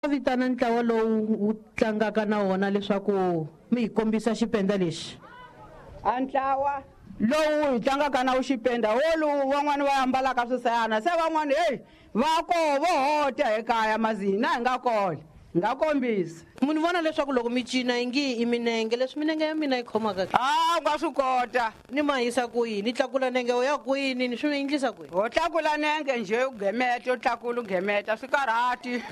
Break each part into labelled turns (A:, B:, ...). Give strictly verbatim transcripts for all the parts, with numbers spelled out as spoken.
A: Vitana ntlawa lowu wu tlangaka na wona leswaku mi hi kombisa xipenda lexi.
B: A ntlawa lowu hi tlangaka na wu xipenda wolowu van'wani va ambalaka swisayana se van'wani heyi va koho vo hota ekaya mazini na hi nga kona hi nga kombisa.
A: Munhu vona leswaku loko mi cina ingi i minenge leswi minenge ya mina yi khomaka ke?
B: A u nga swi kota.
A: Ni ma yisa kwini ni tlakula nenge u ya kwini ni swi endlisa kwini?
B: Ho tlakula nenge njhe u gemeta u tlakula u gemeta swi karhati.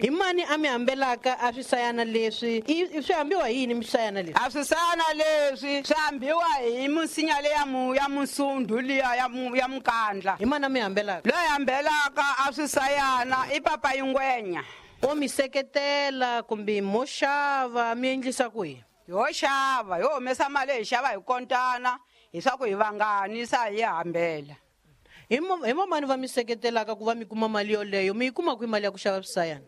A: Hi mani a mi hambelaka a swisayana leswi? I swi hambiwa hi yini misayana leswi?
B: A swisayana leswi swi hambiwa hi misinya leya mu ya musundhu liya ya mu ya mukandla.
A: Hi mani a mi hambelaka?
B: Loyi hambelaka a swisayana i papa Yingwenya.
A: O mi seketela kumbe mo xava mi endlisa ku yini?
B: Ho xava, ho humesa mali hi xava hi kontana hiswaku hi vanganisa hi hambela.
A: Hi mo hi vamani va mi seketelaka ku va mi kuma mali yoleyo? Mi yi kuma kwihi mali ya ku xava swisayana?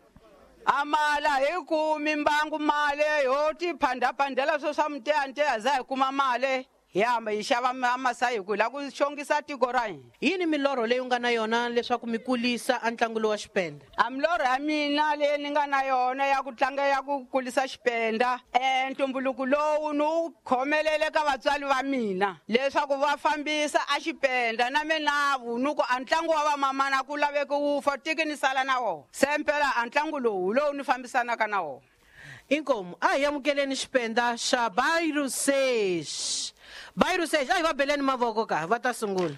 B: A mali a hi kumi mbangu mali ho ti phandaphandela swo swa miteyanteya za hi kuma mali hi hamba hi xava masayi hi ku hi lava ku xongisa tiko ra hina.
A: Yini milorho leyi u nga na yona leswaku mi kulisa a ntlangu lowu wa xipenda?
B: A milorho ya mina leyi ni nga na yona ya ku tlanga ya ku kulisa xipenda um ntumbuluko lowu ni wu khomelele ka vatswari va mina leswaku va fambisa a xipenda na minavu ni ku a ntlangu wa vamamana ku laveki wu fa tiki ni sala na wona se mpela a ntlangu lowu lowu ni fambisanaka na wona.
A: Inkomu a hi amukeleni xipenda xa Bairusesh. Bairusesh a hi va beleni mavoko ka va ta sungula.